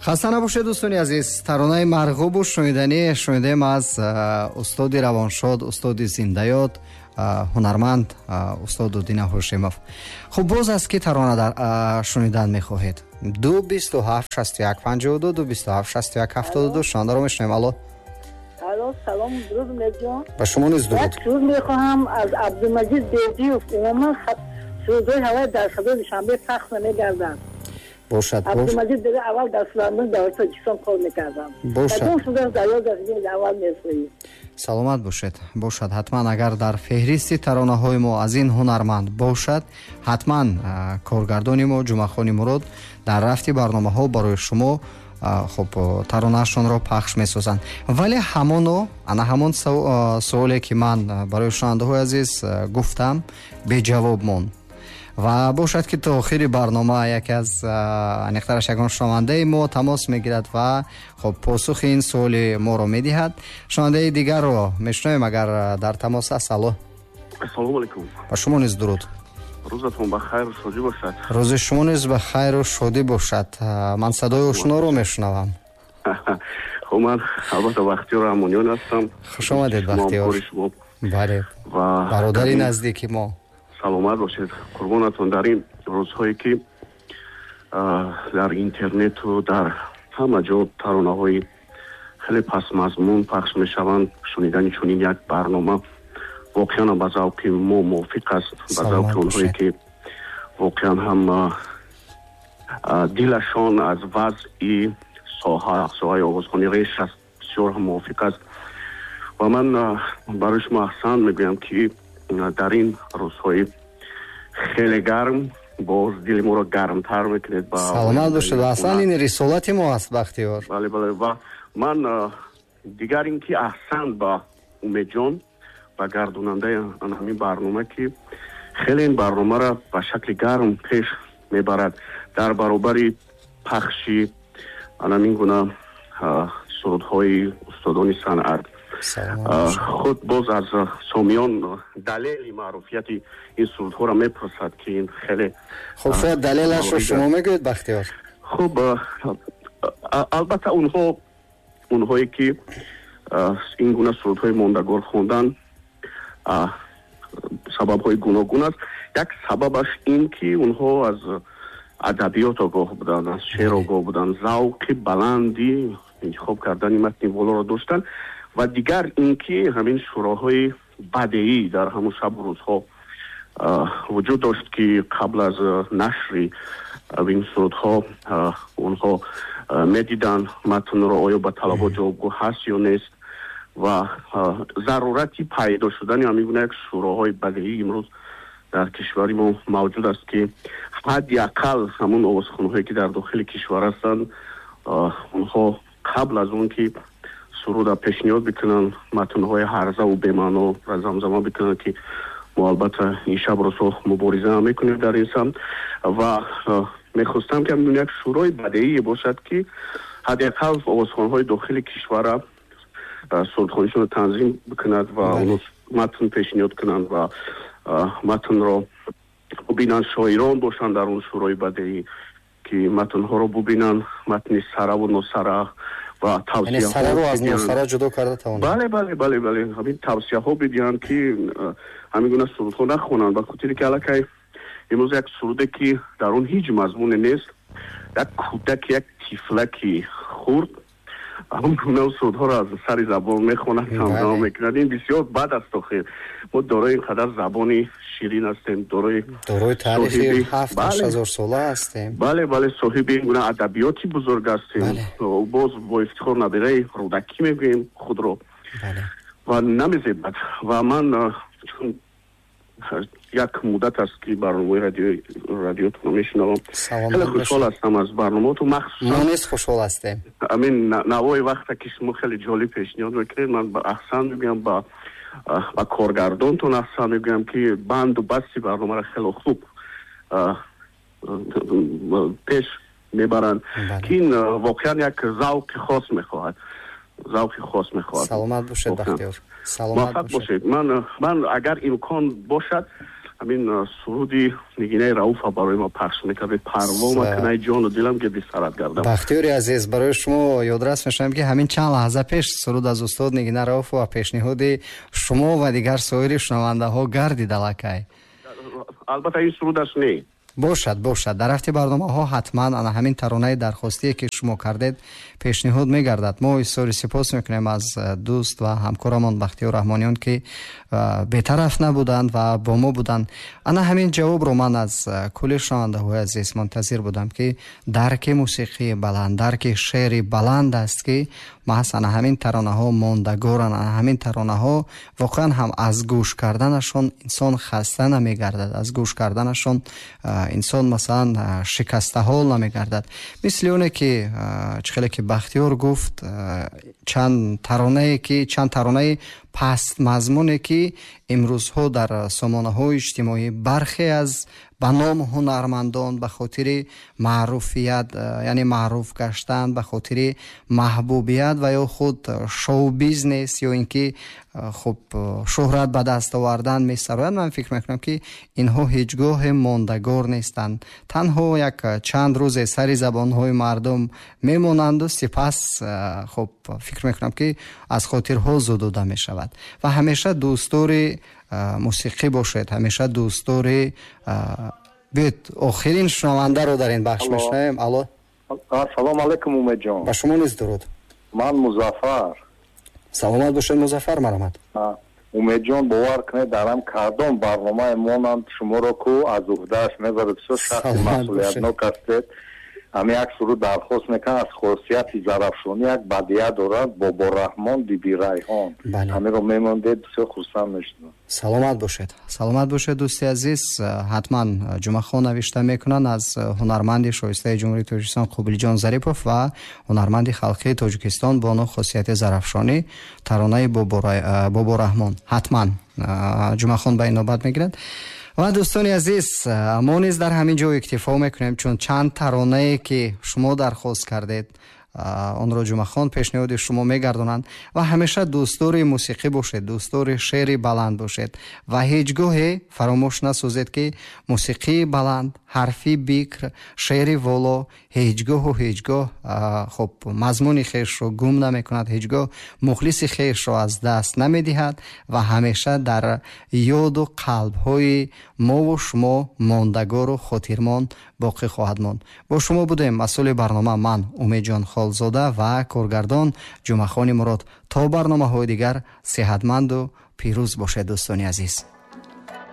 Хаста набошед, дӯстони азиз. Таронаи марғубу шуниданӣ шунидем аз устоди равоншод, устоди зиндаёд, ҳунарманд устод Дудина Ҳошимов. Хуб, боз аз ки тарона дар шунидан мехоҳед? 2 27 61 52, 2 27 61 72. Шунандаро мешунавем. Алло. Алло, салом, дуруд, Умедҷон. Ба шумо низ дуруд. Як суруд мехоҳам аз Абдумаҷид Бердиев. Умуман сурудҳои ҳавай дар Садои Душанбе пахш намегарданд. Бошад. Абдумаҷид Бердиев аввал дар Филармонии давлати Тоҷикистон кор мекарданд. Бошад. Кадом сурудаш дар ёд аст, аввал месоӣ. Саломат бошед. Бошад, ҳатман, агар дар феҳристи таронаҳои мо аз ин ҳунарманд бошад, ҳатман коргардони мо Ҷумъахони Мурод дар рафти барномаҳо барои шумо хуб таронаашонро пахш месозанд. Вале ҳамоно ана ҳамон суоле, ки ман барои шунавандаҳои азиз гуфтам, беҷавоб монд. Ва бошад, ки то охири барнома яке аз, аниқтараш ягон шунавандаи мо тамос мегирад ва хуб посухи ин суоли моро медиҳад. Шунавандаи дигарро мешунавем, агар дар тамос аст. Алло. Ассалому алайкум. Ба шумо низ дуруд. Рӯзатон ба хайру шодӣ бошад. Рӯзи шумо низ ба хайру шодӣ бошад. Ман садои ошноро мешунавам. Хуб, ман албатта Бахтиёр Раҳмониён ҳастам. Хуш омадед, Бахтиёр. Бале, бародари наздики мо. Саломат бошед, қурбонатон. Дар ин рӯзҳое, ки дар интернету дар ҳама ҷо таронаҳои хеле пастмазмун пахш мешаванд, шунидани чунин як барнома воқеан ба завқи мо мувофиқ аст, ба завқи онҳое, ки воқеан ҳам дилашон аз вазъи соҳаи овозхонӣ реш аст, бисёр ҳам мувофиқ аст. Ва ман барои шумо аҳсан мегӯям, ки дар ин рӯзҳои хеле гарм боз дили моро гармтар мекунед. Саломат бошед. Аслан ин рисолати мо аст, Бахтиёр. Бале. Ва ман дигар ин ки аҳсан ба Умедҷон, ба гардонандаи ҳамин барнома, ки хеле ин барномаро ба шакли гарм пеш мебарад. Дар баробари пахши анамин гуна сурудҳои устодони санъат, худ боз аз сомиён далели маъруфияти ин сурудҳоро мепурсад, ки ин хеле Хуб, шояд далелашро шумо мегӯед, Бахтиёр. Хуб, албатта, онҳое ки ин гуна сурудҳои мондагор хондан, сабабҳои гуногун аст. Як сабабаш ин ки онҳо аз адабиёт огоҳ буданд, аз шеър огоҳ буданд, завқи баланди интихоб кардани матни волоро доштанд. Ва дигар ин ки ҳамин шӯроҳои бадеӣ дар ҳамун шабу рӯзҳо вуҷуд дошт, ки қабл аз нашри ин сурудҳо онҳо медиданд матнро, оё ба талабот ҷавобгӯ ҳаст ё нест. Ва зарурати пайдо шудани ҳамин гуна як шӯроҳои бадеӣ имрӯз дар кишвари мо мавҷуд аст, ки ҳадди ақал ҳамун овозхонҳое, ки дар дохили кишвар ҳастанд, онҳо қабл аз он ки суруда пешниҳод бикунанд, матнҳои ҳарзаву бемаъноро замзама бикунанд, ки мо албатта ин шаб рӯзҳо мубориза мекунем дар ин самт. Ва мехостам, ки ҳамин як шӯрои бадеие бошад, ки ҳадди ақал овозхонҳои дохили кишвара сурудхонишонро танзим бикунад ва онҳо матн пешниҳод кунанд ва матнро бубинанд, шоирон бошанд дар он шӯрои бадеӣ, ки матнҳоро бубинанд, матни сараву носара ва тавсияро аз носара ҷудо карда тавонанд. Бале, ҳамин тавсияҳо бидиҳанд, ки ҳамин гуна сурудҳо нахонанд, ба хотире ки аллакай имрӯз як суруде, ки дар он ҳеҷ мазмуне нест, як кӯдаки, як тифлаки хурд ҳамон гуна сурудҳоро аз сари забон мехонад, замзама мекунад. Ин бисёр бад аст. Охир мо дорои ин қадар забони ширин ҳастем, дорои дорои таърихи 7-8 ҳазор сола ҳастем. Бале, соҳиби ин гуна адабиёти бузург ҳастем. Боз бо ифтихор набираи Рӯдакӣ мегӯем худро ва намезебад. Ва ман чун як муддат аст, ки барномаи радиотонро мешунавам, хеле хушҳол ҳастам аз барномаотон, махсусан Мо низ хушҳол ҳастем. Ҳамин навои вақте, ки шумо хеле ҷолиб пешниҳод мекунед. Ман ба аҳсан мегӯям, ба коргардонтон аҳсан мегӯям, ки банду басти барномаро хеле хуб пеш мебаранд, ки ин воқеан як завқи хос мехоҳад, завқи хос мехоҳад. Саломат бошед, Бахтиёр, саломат. Муваффақ бошед. Ман агар имкон бошад Ҳамин суруди Нигинаи Рауфа барои ма пахш мекардед. Парво макунай ҷону дилам, гирди сарат гардам. Бахтиёри азиз, барои шумо ёдрас мешавам, ки ҳамин чанд лаҳза пеш суруд аз устод Нигина Рауфова пешниҳоди шумо ва дигар соири шунавандаҳо гардид аллакай. Албатта, ин сурудаш не. Бошад, бошад, дар рафти барномаҳо ҳатман ана ҳамин таронаи дархостие, ки шумо кардед, пешниҳод мегардад. Мо изҳори сипос мекунем аз дӯст ва ҳамкорамон Бахтиёр Раҳмониён, ки бетараф набуданд ва бо мо буданд. Ана ҳамин ҷавобро ман аз кулли шунавандаҳои азиз мунтазир будам, ки дарки мусиқии баланд, дарки шеъри баланд аст, ки маҳз ана ҳамин таронаҳо мондагоранд. Ана ҳамин таронаҳо воқеан ҳам аз гӯш карданашон инсон хаста намегардад, аз гӯш карданашон инсон, масалан, шикастаҳол намегардад. Мисли оне ки чӣ хеле ки Бахтиёр гуфт, чанд таронае ки, чанд таронаи пастмазмуне, ки имрӯзҳо дар сомонаҳои иҷтимоӣ бархе аз ба ном ҳунармандон ба хотири маъруфият, яъне маъруф гаштан, ба хотири маҳбубият ва ё худ шоу-бизнес ё ин ки хуб шӯҳрат ба даст овардан месароянд, ман фикр мекунам, ки инҳо ҳеҷ гоҳе мондагор нестанд. Танҳо як чанд рӯзе сари забонҳои мардум мемонанду сипас, хуб, фикр мекунам, ки аз хотирҳо зудуда мешавад. Ва ҳамеша дӯстдори мусиқӣ бошед, ҳамеша дӯстдори. Биёед, охирин шунавандаро дар ин бахш мешунавем. Алло. Салом алайкум, Умедҷон. Ба шумо низ дуруд. Ман Музаффар. Саломат бошед, Музаффар, марҳамат. Умедҷон, бовар кунед, дарам кардом барномаи монанд шуморо ку аз уҳдааш мебарад. Бисёр шахси масъулиятнок ҳастед. Ҳами як суруд дархост мекунам аз Хосияти Зарафшонӣ, як бадия дорад, Бобораҳмон Биби Райҳон. Ҳамиро мемондед, бисёр хурсанд мешудам. Саломат бошед, саломат бошед, дӯсти азиз. Ҳатман Ҷумъахон навишта мекунанд аз ҳунарманди шоистаи Ҷумҳурии Тоҷикистон Қобилҷон Зарипов ва ҳунарманди халқии Тоҷикистон бону Хосияти Зарафшонӣ таронаи Бобораҳмон. Ҳатман Ҷумъахон ба ин навбат мегирад. Ва дӯстони азиз, мо низ дар ҳамин ҷо иктифо мекунем, чун чанд таронае, ки шумо дархост кардед, онро Ҷумъахон пешниҳоди шумо мегардонанд. Ва ҳамеша дӯстдори мусиқӣ бошед, дӯстдори шеъри баланд бошед ва ҳеҷ гоҳе фаромӯш насозед, ки мусиқии баланд, ҳарфи бикр, шеъри воло ҳеҷ гоҳу ҳеҷ гоҳ, хуб, мазмуни хешро гум намекунад, ҳеҷ гоҳ мухлиси хешро аз даст намедиҳад ва ҳамеша дар ёду қалбҳои мову шумо мондагору хотирмон боқӣ хоҳад монд. Бо шумо будем масъули барнома ман, Умедҷон Холзода, ва коргардон Ҷумъахони Мурод. То барномаҳои дигар сеҳатманду пирӯз бошед, дӯстони азиз.